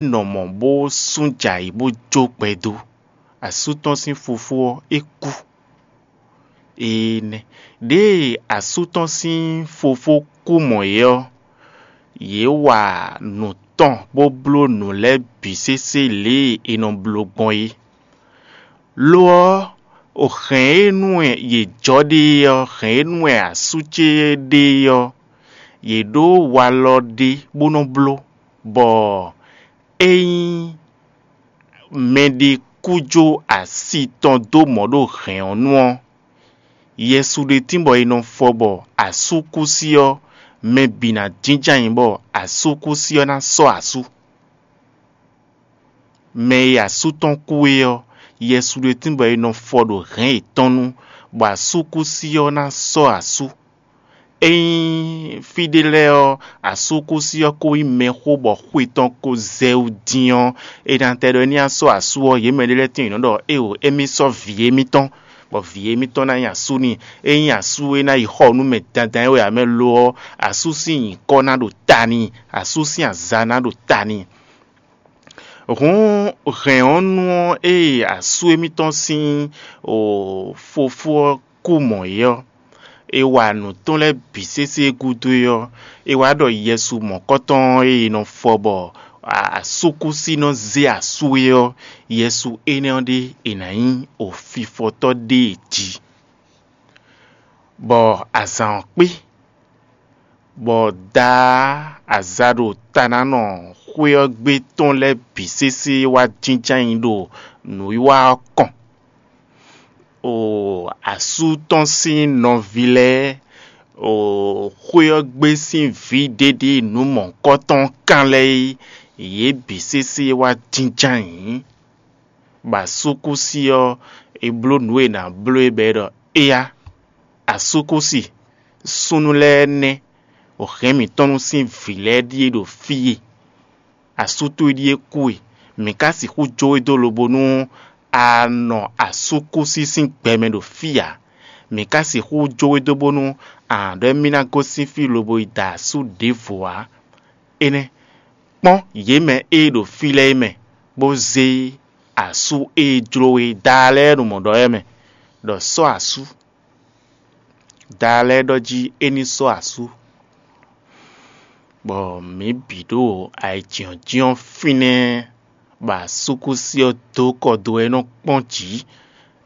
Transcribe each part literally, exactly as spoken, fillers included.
nɔ mɔ̌ bó sú jɛ ayǐ bó jó gbɛ dó. Asú tɔn sín fofó ɔ́, é kú. Énɛ́ ɖěe asú tɔn sín fofó kú mɔ̌ é ɔ́, yě wa nǔ tɔn bó bló nǔ lɛ́ɛ bǐ sésé lě e è nɔ bló gbɔn é. Lo ɔ́, o hɛ̌n e nú wɛ yě jɔ ɖe é ɔ́, hɛ̌n e nú wɛ asú ce ɖe é ɔ́, yě ɖó walɔ ɖé bó nɔ́ bló, bɔ ényí mɛɖé kú jó asi tɔn dó mɔ̌ ɖo hɛ̌n ɔ́ nu ɔ́, Yɛsu ɖe tínbɔ è nɔ fɔ bɔ asúkúsi ɔ́, mɛ bǐ ná jínjɔ́n ayǐ bɔ asúkúsi ɔ́ ná sɔ́ asú. Mɛ e asú tɔn kú é ɔ́, Yɛsu ɖe tínbɔ è nɔ fɔ ɖo hɛ̌n yětɔn nu, bɔ asúkúsi ɔ́ ná sɔ́ asú. Ényí fí ɖé lɛ́ɛ ɔ́, asúkúsi ɔ́ ko nyí mɛxó bɔ xwe tɔn ko zɛ wú dín ɔ́, è nǎ tɛ ɖɔ é ní sɔ́ asú ɔ́, yě mɛ ɖé lɛ́ɛ tíin yě nɔ ɖɔ éeǒ, émí sɔ́ vǐ émítɔn, bɔ vǐ émítɔn ná nyí asú n'i. Ényí asú é ná yi xɔ nú mɛ dandan é wɛ ǎ mɛ lo ɔ́, asú sín nyǐkɔ ná ɖo ta n'i, asú sín aza ná ɖo ta n'i. Hǔn hɛ̌n ɔ́ nu ɔ́, ée asú émítɔn sín fofó ɔ́ kú mɔ̌ é ɔ́, è wa nǔ tɔn lɛ́ɛ bǐ sésé gúdo é ɔ́, è wá ɖɔ Yɛsu mɔ̌kɔtɔn e è nɔ fɔ bɔ asúkúsi nɔ zé asú é ɔ́, Yɛsu énɛ́ ɔ́ ɖé è nǎ nyí ofifɔtɔ́ ɖé e jí. Bɔ azǎn ɔ́ kpé, bɔ daa aza ɖo ta ná nɔ xwé ɔ́ gbe tɔn lɛ́ɛ bǐ sésé wá jínjɔ́n ayǐ ɖo nǔwiwa ɔ́ kɔn. O asú tɔn sín nɔví lɛ́ɛ, o xwé ɔ́ gbe sín vǐ ɖěɖě nǔ mɔ̌hunkɔtɔn kan lɛ́ɛ é, yě bǐ sésé wá jínjɔ́n ayǐ. Bɔ asúkúsi ɔ́, è bló nǔ e è nǎ bló é bɔ é ɖɔ: Éyá, asúkúsi, súnnu lɛ́ɛ nɛ́, o hɛ̌n mǐtɔn nú sín vǐ lɛ́ɛ ɖíe ɖo fí e. Asú towe ɖíe kú e, mǐ ka sixú jó we dó lobo nú a nɔ asúkúsi sín gbɛ mɛ ɖo fí ǎ. Mǐ ka sixú jó we dó bónú a nǎ ɖɔ émí ná gosín fí lobo yi da asú ɖěvo ǎ. Énɛ́, kpɔ́n yě mɛ e ɖo fí lɛ́ɛ é mɛ, bó zé asú e jló we daa lɛ́ɛ ɖo mɔ̌ ɖɔ é mɛ, ɖɔ sɔ́ asú. Daa lɛ́ɛ ɖɔ jí é ní sɔ́ asú, bɔ mǐ bǐ ɖo ayǐjínjɔ́n fínɛ́, bɔ asúkúsi ɔ́ dó kɔ dó wɛ é nɔ kpɔ́n jǐ.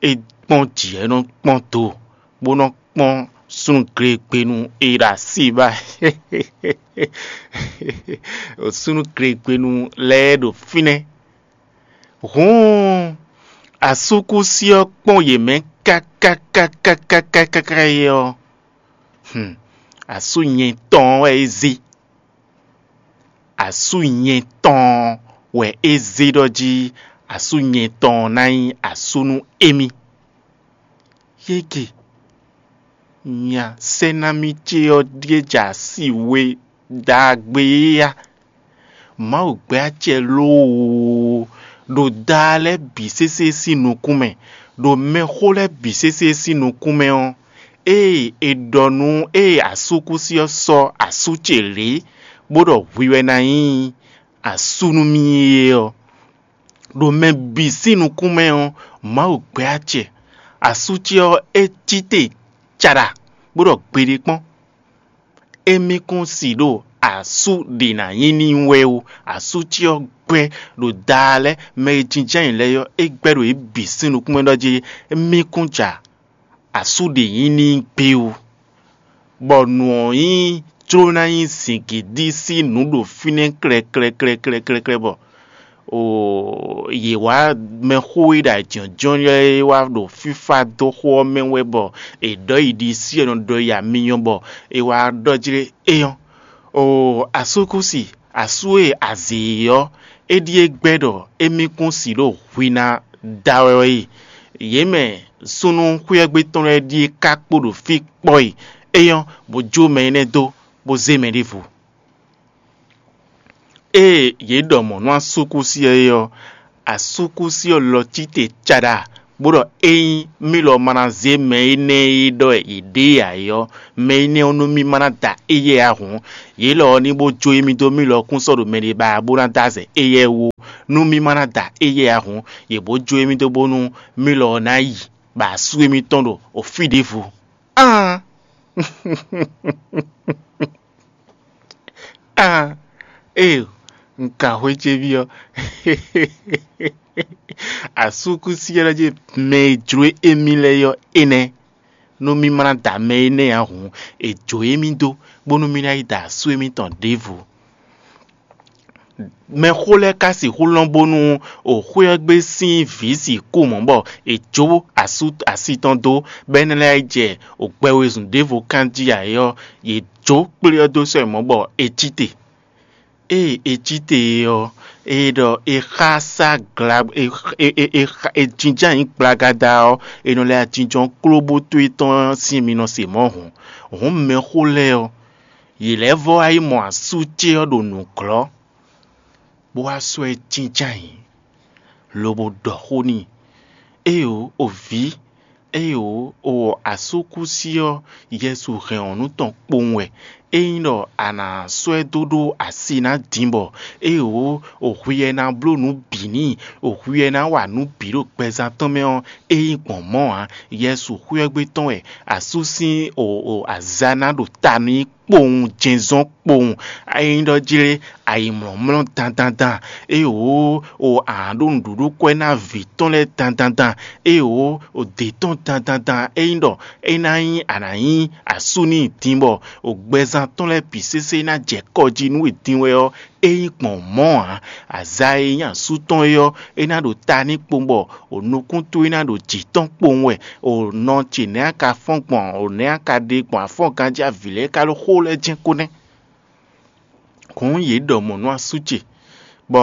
É kpɔ́n jǐ wɛ é nɔ kpɔ́n do, bó nɔ kpɔ́n súnnu glegbenu e ɖo así ba súnnu glegbenu lɛ́ɛ ɖo fínɛ́. Hǔn asúkúsi ɔ́ kpɔ́n yě mɛ káká káká káká káká é ɔ́, asú nyɛ tɔn ɔ́ wɛ é zé. Asú nyɛ tɔn wɛ é zé ɖɔ jí asú nyɛ tɔn ná nyí asú nú émí. Yége, nya sɛ́námi ce ɔ́ ɖíe jɛ asi we ɖagbe é a? Mawu gbɛ́ acɛ loo ɖo daa lɛ́ɛ bǐ sésé sín nukún mɛ, ɖo mɛxó lɛ́ɛ bǐ sésé sín nukún mɛ ɔ́, ée è ɖɔ nú ée asúkúsi ɔ́ sɔ́ asú ce lě, bó ɖɔ hwi wɛ ná nyí asú nú mì é ɔ́, ɖo mɛ bǐ sín nukún mɛ ɔ́, Mawu gbɛ́ acɛ. Asú ce ɔ́, é cí te caɖa, bó ɖɔ gbeɖé kpɔ́n. Émí kún si ɖo asú ɖě ná nyí n'i wɛ ó. Asú ce ɔ́ gbɛ́ ɖo daa lɛ́ɛ mɛ e jínjɔ́n ayǐ lɛ́ɛ ɔ́, é gbɛ́ ɖo yě bǐ sín nukún mɛ ɖɔ jí émí kún ja asú ɖě nyí n'i gbé ó. Bɔ nǔ ɔ́ nyí jló ná nyí zǐngídi sín nǔ ɖo fínɛ́ klɛklɛklɛklɛklɛklɛ bɔ oo yě wá mɛxó e ɖo ajɔ̌jɔ́ lɛ́ɛ wá ɖo fífá dó xó ɔ́ mɛ wɛ bɔ è ɖɔ yi ɖisí è nɔ ɖɔ yi amyɔ bɔ è wá ɖɔ jlé éyɔ́. Oo asúkúsi, asú e a zě é ɔ́, é ɖíe gbɛ́ ɖɔ émí kún si ɖo hwi ná da wɛ é. Yě mɛ súnnu xwíɛ́gbé tɔn lɛ́ɛ ɖíe ka kpo ɖo fí kpɔ́ e, éyɔ́ bó jó mɛ énɛ́ dó, bó zé mɛ ɖěvo. Ée yě ɖɔ mɔ̌ nú asúkúsi ɔ́ é ɔ́, asúkúsi ɔ́ lɔ cí te caɖa, bó ɖɔ ényí mì lɔ ma ná zé mɛ énɛ́ e ɖɔ wɛ yě ɖe ǎ é ɔ́, mɛ énɛ́ ɔ́ nú mì ma ná da éyɛ́ ǎ hǔn, yě lɔ ɔ́ ní bó jó émí dó mì lɔ kún sɔ́ ɖo mɛɖé ba bó ná dó azɛ éyɛ́ wú. Nú mì ma ná da éyɛ́ ǎ hǔn, yě bó jó émí dó bónú mì lɔ ɔ́ ná yi ba asú émítɔn ɖo fí ɖěvo. Aan! Aan! Ee, un ka xwé ce byɔ́. Asúkúsi ɔ́ ɖɔ jí mɛ e jló émí lɛ́ɛ ɔ́ énɛ́. Nú mì ma ná da mɛ énɛ́ ǎ hǔn, è jǒ émí dó, bónú mì ná yi da asú émítɔn ɖěvo. Mɛxó lɛ́ɛ ka sixú lɔn bónú xwé ɔ́ gbe sín vǐ sixú mɔ̌ bɔ è jó asú asi tɔn dó, bɔ é ná lɛ́ jɛ gbɛ wezun ɖěvo kán jí ǎ é ɔ́, yě jó kplé ɔ́ dó sɔ́ mɔ̌ bɔ é cí te. Ée é cí te é ɔ́, é ɖɔ é xá sá gla é é é é xa- é jínjɔ́n ayǐ gblagada ɔ́, è nɔ lɛ́ ajínjɔ́n klóbótó étɔn sín mi nɔ se mɔ̌ hǔn. Hǔn mɛxó lɛ́ɛ ɔ́, yě lɛ́ vɔ́ wá yi mɔ asú ce ɔ́ ɖo nǔglɔ́, bó wá sɔ́ ɛ jínjɔ́n ayǐ, lobo ɖɔ xó n'i. Éeǒ, o vǐ, éeǒ, o wɔ asúkúsi ɔ́, Yɛsu hɛn ɔ́ nú tɔn kpowun wɛ. Ényí ɖɔ a nǎ sɔ́ ɛ dó ɖó asi ná din bɔ, éeǒ, o hwi wɛ ná bló nǔ bǐ n'i, o hwi wɛ ná wa nǔ bǐ ɖo gbɛzán tɔn mɛ ɔ́, é nyí gbɔn mɔ̌ ǎ. Yɛsu xwé ɔ́ gbe tɔn wɛ asú sín o o azǎ ná ɖo ta n'i kpowun jɛnzɔ́n kpowun. Ényí ɖɔ jlé ayǐmlɔ́mlɔ́ dandandan, ée wǒ o a nǎ ɖó nǔɖuɖu kwɛ́ ná vǐ tɔn lɛ́ɛ dandandan, ée wǒ o dě tɔn dandandan. Ényí ɖɔ é ná nyí a nǎ nyí asú n'i din bɔ o gbɛzán tɔn lɛ́ɛ bǐ sésé ná jɛ kɔ jí nú e din wɛ ɔ́, é nyí gbɔn mɔ̌ ǎ. Azǎ e nyí asú tɔn é ɔ́, é ná ɖo ta n'i kpowun bɔ o nukún towe ná ɖo jǐ tɔn kpowun wɛ. O nɔ ce nɛ̌ a ka fɔ́n gbɔn, o nɛ̌ a ka ɖe gbɔn afɔ́ngán jí avǐ lɛ́ɛ ka ɖo xó lɛ́ɛ jɛ́n kó nɛ́. Hǔn yě ɖɔ mɔ̌ nú asú ce, bɔ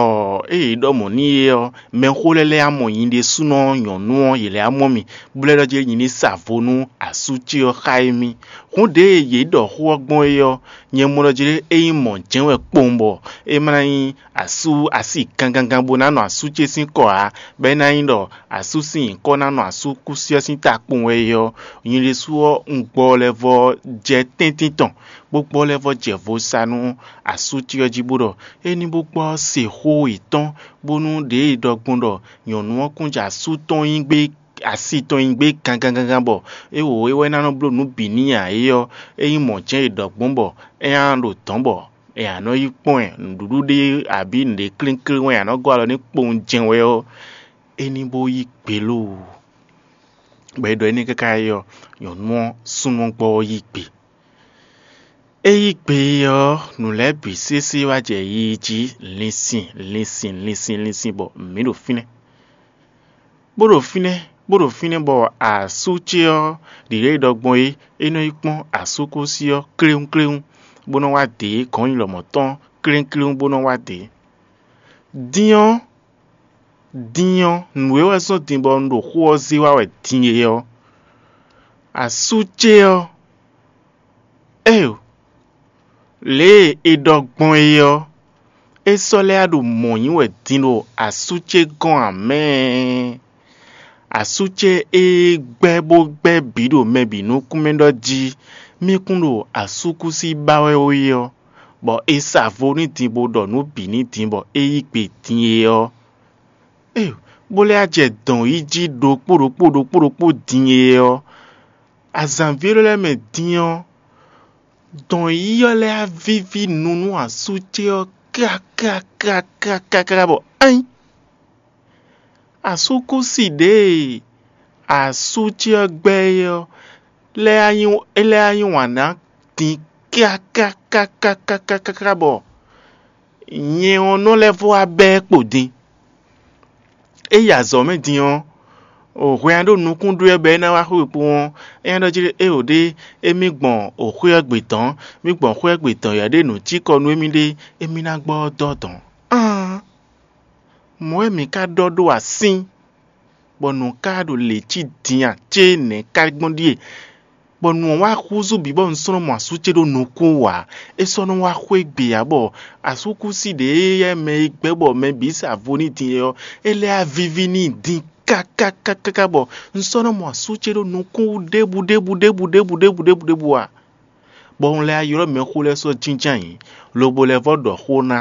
ée yě ɖɔ mɔ̌ n'i é ɔ́, mɛxó lɛ́ɛ lɛ́ɛ mɔ nyi ɖésúnɔ nyɔ̌nu ɔ́, yě lɛ́ mɔ mì, bó lɛ́ ɖɔ jí nyi ní sa vo nú asú ce ɔ́ xá émí. Hǔn ɖěe yě ɖɔ xó ɔ́ gbɔn é ɔ́, nyɛ mɔ ɖɔ jí é nyí mɔ̌ jɛ́n wɛ kpowun bɔ é ma ná nyí asú asi gangangan bó ná nɔ asú ce sín kɔ ǎ, bɔ é ná nyí ɖɔ asú sín nyǐkɔ ná nɔ asú kúsí ɔ́ sín ta kpowun wɛ é ɔ́, nyɛ ɖésú ɔ́, un gbɔ lɛ́ vɔ́ jɛ tɛ́ntin tɔn, bó gbɔ lɛ́ vɔ́ jɛ vo sa nú asú ce ɔ́ jí bó ɖɔ é ní bó gbɔ se xó yětɔn, bónú ɖěe ɖɔ gbɔn ɖɔ nyɔ̌nu ɔ́ kún jɛ asú tɔn nyi gbé asi tɔn nyi gbé gangangangan bɔ é wǒ é wɛ ná nɔ bló nǔ bǐ n'i ǎ é ɔ́, é nyí mɔ̌ jɛ́n è ɖɔ gbɔn bɔ é ná ɖo dɔ̌n bɔ è nǎ nɔ yi kpɔ́n ɛ nǔɖuɖu ɖé abǐ nǔɖé klínkín wɛ è nǎ nɔ gɔ́ alɔ n'i kpowun jɛ́n wɛ ɔ́, é ní bó yí gbe lóo. Bɔ é ɖɔ énɛ́ káká é ɔ́, nyɔ̌nu ɔ́ súnnu ɔ́ gbɔ ɔ́ yí gbe. É yí gbe ɔ́, nǔ lɛ́ɛ bǐ sésé wá jɛ yiyi jí linsin linsin linsin linsin bɔ mǐ ɖo fínɛ́. Bó ɖo fínɛ́, bó ɖo fínɛ́ bɔ asú ce ɔ́ ɖǐɖɔ́ yi ɖɔ gbɔn é, é nɔ yi kpɔ́n asúkúsi ɔ́ kléwúnkléwún, bó nɔ́ wá dě gɔ̌n nyi lɔmɔ̌ tɔn kléwúnkléwún bó nɔ́ wá dě. Din ɔ́, din ɔ́, nǔ e wɛ zɔ́n din bɔ un ɖo xó ɔ́ zé wá wɛ din é ɔ́, asú ce ɔ́, Éyo, lě e è ɖɔ gbɔn é ɔ́, é sɔ́ lɛ́ ɖo mɔ̌ nyi wɛ din ɖo asú ce gɔ́n ǎ mɛ. Asú ce e gbɛ́ bó gbɛ́ bǐ ɖo mɛ bǐ nukún mɛ ɖɔ jí mì kún ɖo asúkúsi ba wɛ ó é ɔ́, bɔ è sa vo n'i din bó ɖɔ nǔ bǐ n'i din bɔ é yí gbe din é ɔ́, éyo, bó lɛ́ jɛ dɔn yí jí ɖokpó ɖokpó ɖokpó ɖokpó din é ɔ́, azǎnví élɔ́ lɛ́ɛ mɛ din ɔ́, dɔn yíyí ɔ́ lɛ́ wá víví nu nú asú ce ɔ́ kákákákákáká bɔ ain! Asúkúsi ɖěe asú ce ɔ́ gbɛ́ é ɔ́ lɛ́ wá yí é lɛ́ wá yí wǎn ná din kákákákákáká bɔ nyɛ ɔ́ nɔ lɛ́ vɔ wá bɛ́ ɛ kpo din. É yi azɔ̌ mɛ din ɔ́, o hwɛ nya ɖo nukún ɖó ɛ bɔ é ná wá xwé kpowun ɔ́, é nya ɖɔ jí éeǒ ɖé, émí gbɔn xwé ɔ́ gbe dɔ̌n, mí gbɔn xwé ɔ́ gbe dɔ̌n yɔ ɖé nǔ cí kɔ nú émí ɖé, émí ná gbɔ ɔ́ dɔ́ dɔ̌n. Aan! Mɔ̌ wɛ mǐ ka ɖɔ ɖó asín, bɔ nǔ ka ɖo lě cí din a cé nɛ̌ ka gbɔn ɖíe? Bɔ nǔ ɔ́ wá húzú bǐ bɔ un sɔ́ nɔ mɔ asú ce ɖó nukún wǎ. É sɔ́ nɔ wá xwé gbe ǎ bɔ asúkúsi ɖě e yɛ mɛ e gbɛ́ bɔ mɛ bǐ sa vo n'i din é ɔ́, é lɛ́ wá víví n'i din kákákákáká bɔ un sɔ́ nɔ mɔ asú ce ɖo nukún wú ɖěbǔ ɖěbǔ ɖěbǔ ɖěbǔ ɖěbǔ ɖěbǔ ɖěbǔ ǎ. Bɔ un lɛ́ ylɔ́ mɛxó lɛ́ɛ sɔ́ jínjɔ́n ayǐ, lobo lɛ́ vɔ́ ɖɔ xó ná,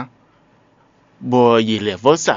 bɔ yě lɛ́ vɔ́ sa